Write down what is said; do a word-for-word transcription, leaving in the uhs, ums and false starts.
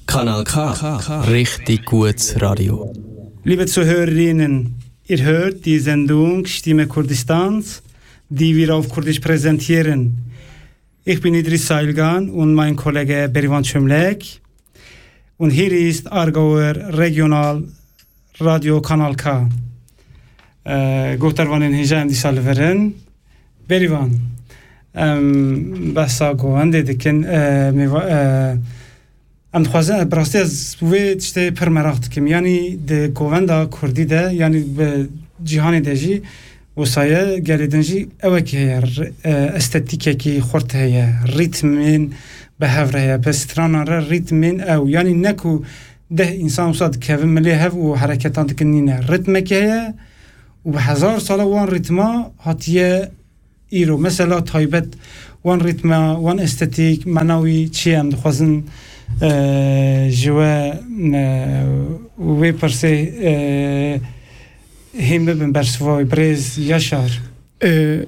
Kanal K. Richtig gut Radio. Liebe Zuhörerinnen, ihr hört die Sendung Stimme Kurdistans, die wir auf Kurdisch präsentieren. Ich bin Idris Sailgan und mein Kollege Berivan Çömlek. Und hier ist Aargauer Regional Radio Kanal K. Ee, guhdarvanên hêja em dîsa li vir in. Berivan, em behsa govendê dikin. Ee, mêva-, ee, em dixwazin, bi rastî ez wê tiştê pir meraq dikim. Yanî di govenda kurdî de, yanî bi cîhanê de jî wisa ye, gelê din jî ewekî heye, r-, ee, estetîkekî xurt heye, rîtmên bi hev re heye, bi stranan re rîtmên ew. Yanî ne ku deh însan wisa dikevin milê hev û hereketan dikin, nîne. Rîtmekî heye û bi hezar sala wan rîtma hatiye îro. Mesela taybet wan rîtma, wan estetîk, mena wî çi ye? Em dixwazin, e, ji we, e, wê pirsê, e, hîn bibin bersiva wî, birêz Yaşar. E,